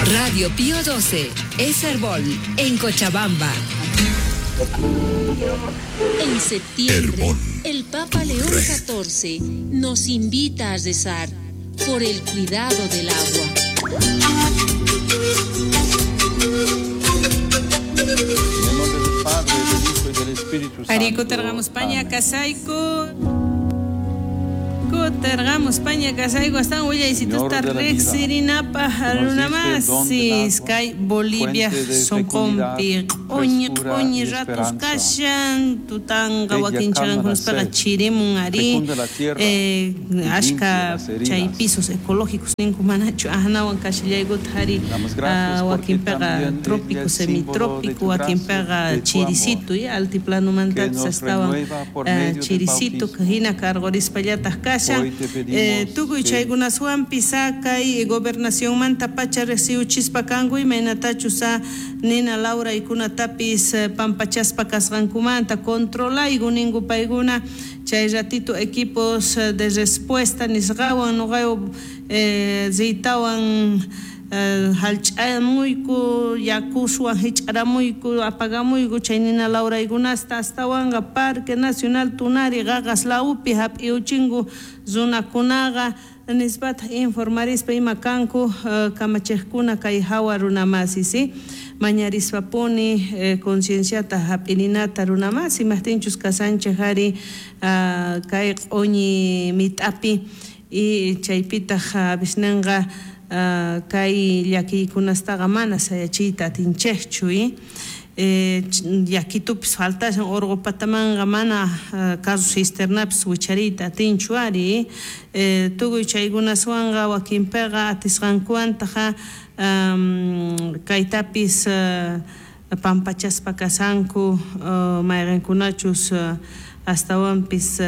Radio Pío 12, es Herbol, en Cochabamba. En septiembre, el Papa León XIV nos invita a rezar por el cuidado del agua. En el nombre del Padre, del Hijo y del Espíritu Santo. Arí, kutirqamus paña Amén. kasayku. Kutirqamus paña kasayku astawan willaysitusta Señor de la vida, riqsirinapaj que nos diste el don del runamasis agua, kay Bolivia fuente de sonqonpi fecundidad, q'uñi frescura q'uñi y ratos esperanza. kashan tutanqa Ella wakin calma la chaqankunaspaqa sed, chirimun ari fecunda la tierra y limpia ashka las heridas. chay pisos ecológicos ninku manachu aqnawan kashallaykuta ari Te damos gracias porque wakinpiqa también ella trópico es símbolo de semitrópico tu gracia, wakinpiqa de tu amor, chirisito y que altiplanomantapis nos astawan renueva por medio del chirisito bautismo. hina cargorispallataq kashan. Hoy te pedimos Tukuy que chaykunaswanpis kay gobernacionmanta pacha riqsiwchispa kanku imaynatachus nina lawraykunatapis pampachaspa kasqankumanta controlayku ninku paykuna chay ratito equipos de respuesta nisqawan nuqayu riytawan hallch'amuyku yakuswan hich'aramuyku apagamuyku chay nina lawraykunasta astawanqa Parque Nacional Tunari qaqas lawpi hap'iuchinku runakunaqa nispataq informarispa ima kanku kamachiqkuna kay hawa runamasi si mañarispapuni concienciata hap'ininata runamasi imajtinchus kasanchik ari kay q'uñi mit'api y chaypitaq avisnanqa kay llakiykunastaqa mana sayachiyta atinchikchu llakitupis faltashan urqu patamanqa mana carro cisternapis wichariyta atinchu ari tukuy chaykunaswanqa wakinpiqa atisqankuwantaqa kaytapis pampachaspa kasanku mayqinkunachus astawanpis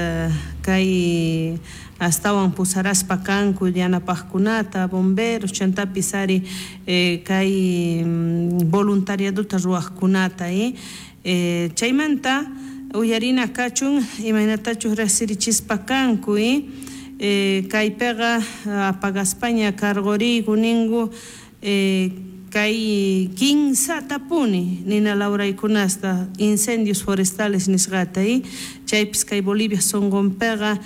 kay astawan pusaraspa kanku yanapaqkunata bomberos chantapis ari kay voluntariadota ruwaqkunata chaymanta uyarina kachun imaynatachus riqsirichispa kanku kaypiqa apagaspaña cargoriyku ninku kay kinsatapuni nina lawraykunasta incendios forestales nisqata chaypis kay Bolivia sonqonpiqa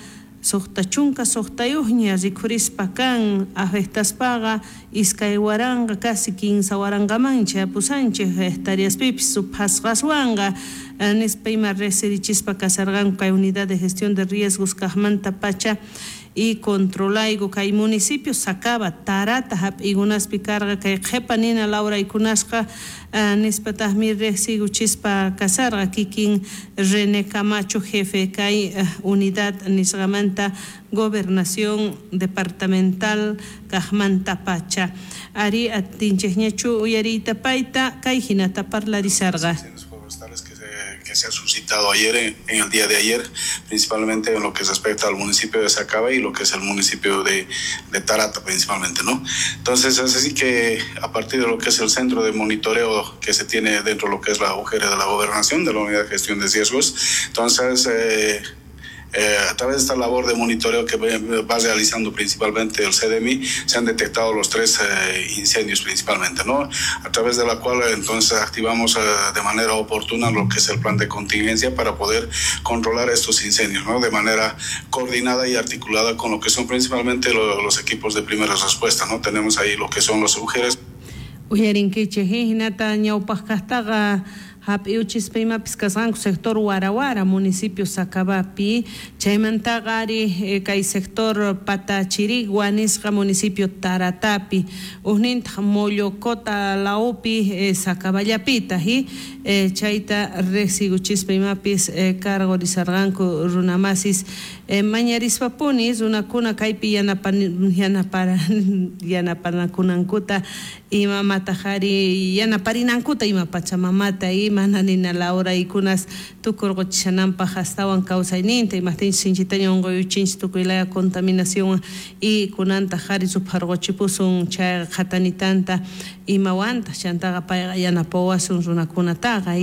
suqta chunka suqtayuqña rikhurispa kan afectaspaqa iskay waranqa casi kinsa waranqaman chayapusanchik hectareaspipis suphasqaswanqa nispa ima riqsirichispa kasarqanku kay unidad de gestión de riesgos kaqmanta pacha y controlayku kay municipio Sacaba Tarata hap'iykunaspi karqa kay qhipa nina lawraykunasqa nispataqmi riqsiykuchispa kasarqa kikin René Camacho jefe kay unidad nisqamanta gobernación departamental kaqmanta pacha ari atinchikñachu uyariyta payta kay hinata parlarisarqa. Que se ha suscitado ayer, en el día de ayer, principalmente en lo que respecta al municipio de Sacaba y lo que es el municipio de Tarata principalmente, ¿no? Entonces, es así que a partir de lo que es el centro de monitoreo que se tiene dentro de lo que es la UGR de la Gobernación, de la Unidad de Gestión de Riesgos, entonces a través de esta labor de monitoreo que va realizando principalmente el CDMI, se han detectado los 3 incendios principalmente, ¿no? A través de la cual entonces activamos de manera oportuna lo que es el plan de contingencia para poder controlar estos incendios, ¿no? De manera coordinada y articulada con lo que son principalmente los equipos de primera respuesta, ¿no? Tenemos ahí lo que son los UGRs. Uyarinkichik hinata ñawpaq kaqtaqa hap'iuchispa imapis kasqanku sector Warawara municipio Sacabapi chaymantaqa ari kay sector Patachirigua nisqa municipio Taratapi ujnintaq Mollocota lawpi Sacaballapita chayta riqsiykuchispa imapis cargorizarqanku runamasis mañarispapuni runakuna kaypi yanapanakunankuta imamataq ari yanaparinankuta ima pachamamata mana nina lawraykunas tukurquchishananpaq astawan kawsayninta imajtinchis sinchitaña unquyuchinchis tukuy laya contaminación y kunantaq ari rupharquchipusun chay qhatanitanta imawantaq chantaqa payqa yanapawasun runakunataqa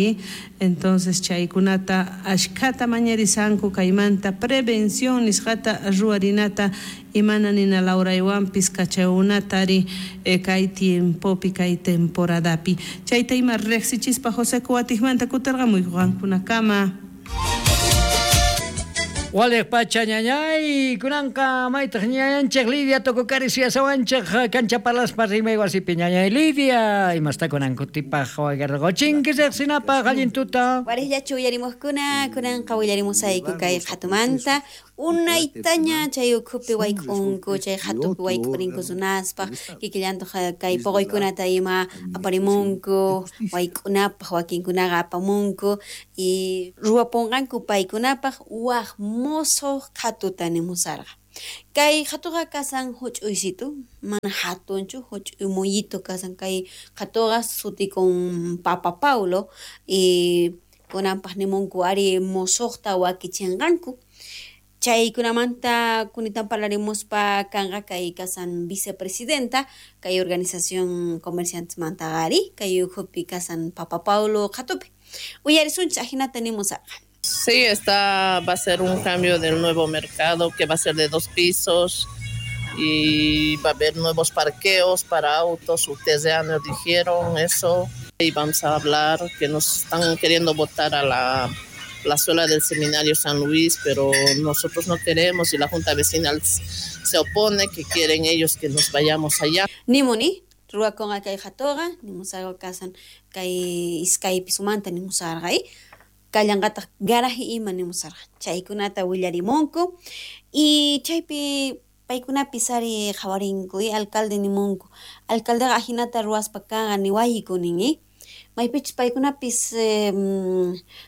entonces chaykunata ashkhata mañarisanku kaymanta prevención nisqata ruwarinata Imana nina lawraywanpis kachaykunatari kay tiempopi kay temporadapi. Chayta ima riqsichispa José Kuwatikmanta kutirqamuyku qankunakama. Waliq pacha ñañay, kunanqa maytaq ñañanchik Lidia Tococari suyasawanchik kancha parlaspa rimay wasipi ñañay Lidia, imasta kunan kutipaq wagarqochinki riqsinapaq allin tuta. Wariqllachu uyarimuqkuna, kunanqa willarimusayku kay qhatumanta, unaytaña chay ukhupi wayk'unku, chay qhatupi wayk'urinku runaspaq, kikillantaq kay puquykunata ima aparimunku, wayk'unapaq wakinkunaqa apamunku, y ruwapunqanku paykunapaq waj mosoq qhatuta nimusarqa. Kay qhatuqa kasan huch'uysitu, mana hatunchu, huch'uy muyito kasan kay qhatuqa sutikun Papa Paulo, y kunanpaq nimunku ari mosoqta wakichinqanku. Chaykunamanta kunitan parlarimuspa kanqa kay kasan vicepresidenta kay organización comerciantes mantaqari kay ukhupi kasan Papa Paulo qhatupi. Uyarisunchik ajinata nimusarqa. Sí, va a ser un cambio del nuevo mercado que va a ser de 2 pisos y va a haber nuevos parqueos para autos. Ustedes ya nos dijeron eso y vamos a hablar que nos están queriendo botar a la plazuela del Seminario San Luis, pero nosotros no queremos y la Junta Vecinal se opone, que quieren ellos que nos vayamos allá. Nimuni, ruwakunqa kay qhatuqa, nimusarqa kasan kay iskay pisumanta nimusarqa, kallanqataq garaje ima nimusarqa. Chaykunata willarimunku y chaypi paykunapis ari qhawarinku, alcalde nimunku. Alcaldeqa ajinata ruwaspa kanqa niwayku nin, maypichus paykunapis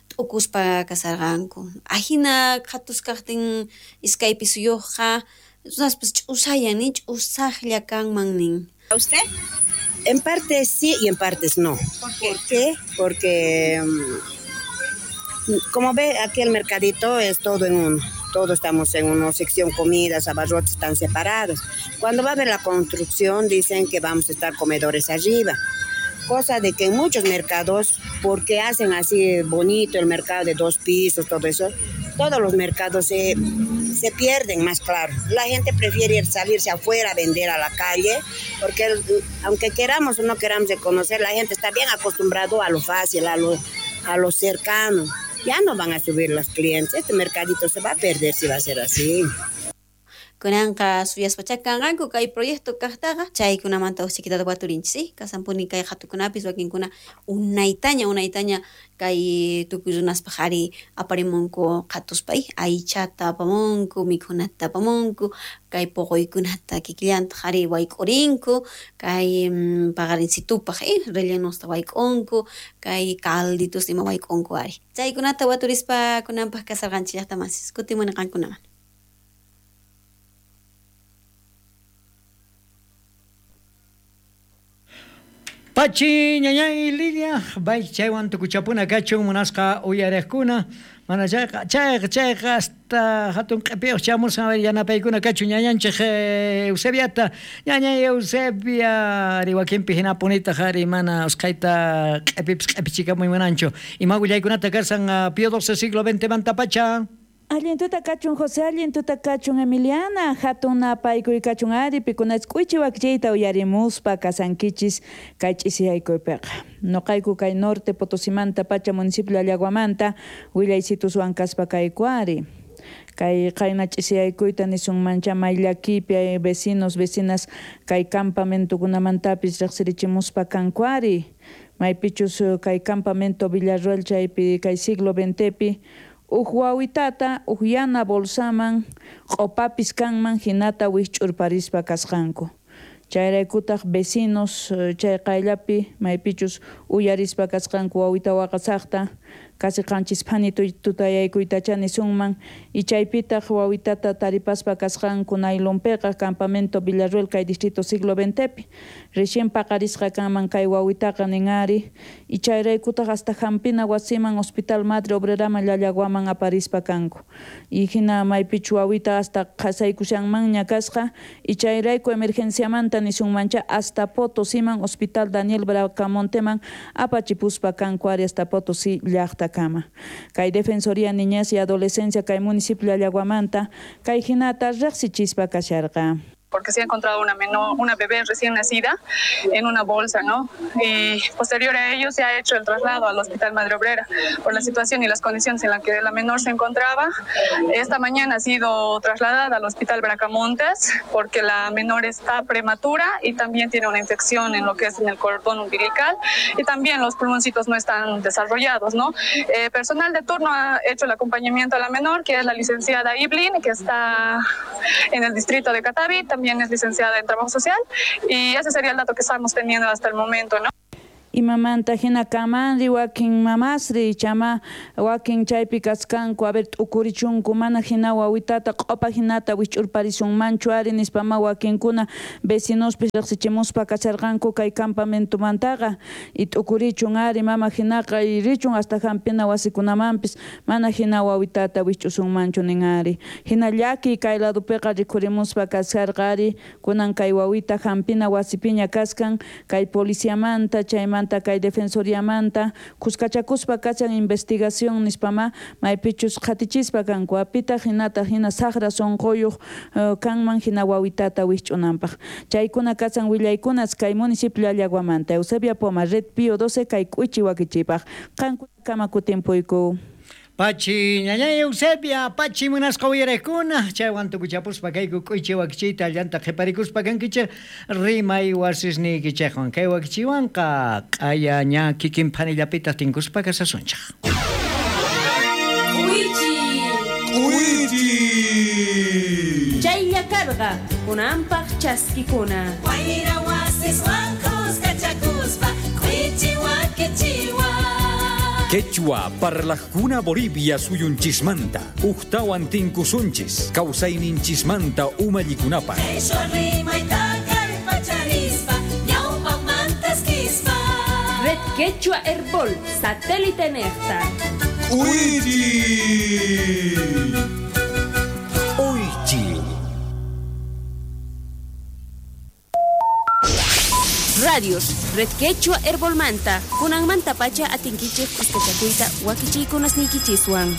t'ukuspa kasarqanku. Ajina qhatus kaqtin iskay pisuyuqqa runaspis ch'usayan, ch'usaqlla kanman nin. ¿A usted? En parte sí y en partes no. ¿Por qué? ¿Por qué? Porque como ve, aquí el mercadito es todo en uno. Todos estamos en una sección, comidas, abarrotes están separados. Cuando va a haber la construcción, dicen que vamos a estar comedores arriba. Cosa de que en muchos mercados, porque hacen así bonito el mercado de 2 pisos, todo eso, todos los mercados se pierden más claro. La gente prefiere salirse afuera a vender a la calle, porque aunque queramos o no queramos reconocer, la gente está bien acostumbrado a lo fácil, a lo cercano. Ya no van a subir los clientes, este mercadito se va a perder si va a ser así. Kunanqa suyaspacha kanqanku kay proyecto kaqtaqa chaykunamanta usikitata waturinchis, kasanpuni kay qhatukunapis wakinkuna unaytaña kay tukuy runaspaq ari aparimunku qhatuspa, aychata apamunku, mikhunata apamunku, kay puquykunata kikillantaq ari wayk'urinku, kay paqarinsitupaq rellenusta wayk'unku, kay calditos ima wayk'unku ari. Chaykunata waturispa kunanpaq kasarqanchik llaqtamasis, kutimuni qankunaman. Pachi, ñañay, Lidia, bay chaywan tukuchapuna kachun munasqa uyariqkuna, mana chayqa chayqa hasta hatun q'ipiyuq chamusqa yanapaykuna kachun ñañanchik Eusebiata, ñañay Eusebia, ari wakinpi hinapunitaq ari mana usqhayta q'ipipis q'ipichikamuy munanchu. Ima willaykunata kasan Pío XII siglo XX manta pacha. Allin tuta kachun José, allin tuta kachun Emiliana, hatun napaykuy kachun ari, pikunach k'uychi wakchiyta uyarimuspa kasankichis kay ch'isiyaykuypiqa. Noqayku kay norte Potosimanta pacha municipio Llallaguamanta willaysituswan kaspa kayku ari. Kay qayna ch'isiyaykuyta nisunmancha mayllakipi vecinos, vecinas kay campamentokunamantapis riqsirichimuspa kanku ari. Maypichus kay campamento Villarroel chaypi kay siglo XXpi uj wawitata uj yana bolsaman q'opapis kanman hinata wikch'urparispa kasqanku. Chayraykutaq vecinos chay qayllapi maypichus uyarispa kasqanku wawita waqasaqta casi qanchis phani tutayaykuytacha nisunman y chaypitaq wawitata taripaspa kasqanku naylonpiqa campamento Villarroel kay distrito siglo XXpi recién paqarisqa kanman kay wawitaqa nin ari y chayraykutaq hasta hampina wasiman hospital Madre Obreraman Llallaguaman aparispa kanku y hina maypichu wawita hasta qhasaykushanmanña kasqa y chayrayku emergenciamanta nisunmancha hasta Potosiman hospital Daniel Bracamonteman apachipuspa kanku ari hasta Potosí llaqta. watakama. Kay Defensoría Niñez y Adolescencia kay municipio Llallaguamanta kay hinata riqsichispa kasharqa. Porque se ha encontrado una menor, una bebé recién nacida en una bolsa, ¿no? Y posterior a ello se ha hecho el traslado al Hospital Madre Obrera por la situación y las condiciones en las que la menor se encontraba. Esta mañana ha sido trasladada al Hospital Bracamontes porque la menor está prematura y también tiene una infección en lo que es en el cordón umbilical y también los pulmoncitos no están desarrollados, ¿no? Personal de turno ha hecho el acompañamiento a la menor, que es la licenciada Iblin, que está en el distrito de Catavi, también es licenciada en Trabajo Social, y ese sería el dato que estamos teniendo hasta el momento, ¿no? Imamanta hina kamanri wakin mamasri chama wakin chaypi kaskanku a ver t'ukurichunku mana hina wawitata q'opa hinata wich'urparisunmanchu ari nispama wakinkuna vecinospis riqsichimuspa kasharqanku kay campamentomantaqa y t'ukurichun ari mama hinaqa y richun hasta hampina wasikunamanpis mana hina wawitata wich'usunmanchu nin ari hina llaki kay ladopiqa rikhurimuspa kasharqa ari kunan kay wawita hampina wasipiña kaskan kay policiamanta chaymanta kay defensoriamanta kuskachakuspa kachan investigación nispama maypichus qhatichispa kanku apita hinata hina saqra sunquyuq kanman hina wawitata wisch'unanpaq chaykuna kachan willaykunas kay municipio Llallaguamanta. Eusebia Poma, Red Pío 12 kay k'uichi wakichipaq qankunakama kutimpuyku. Pachi ñañay Eusebia, pachi munasqa uyariqkuna, chaywan tukuchapuspa kayku k'uychi wakichiyta llanta qhiparikuspa kankichik rimay wasisniykichikwan kay wakichiwanqa q'aya ña kikin phanillapitaq tinkuspa kasasunchik. K'uychi! K'uychi! Chaylla karqa kunanpaq chaskikuna. Wayra wasiswan kuskachakuspa k'uychi wakichiwan. Quechua parlajkuna Bolivia suyunchismanta, ujtawan tinkusunchis, kawsayninchismanta umallikunapaq. Red Quechua Herbol, satélite nefta. ¡Uichi! Uichi. Radios, Red Quechua Herbolmanta, kunanmanta pacha atinkichik kuskachakuyta wakichiykunasniykichiswan.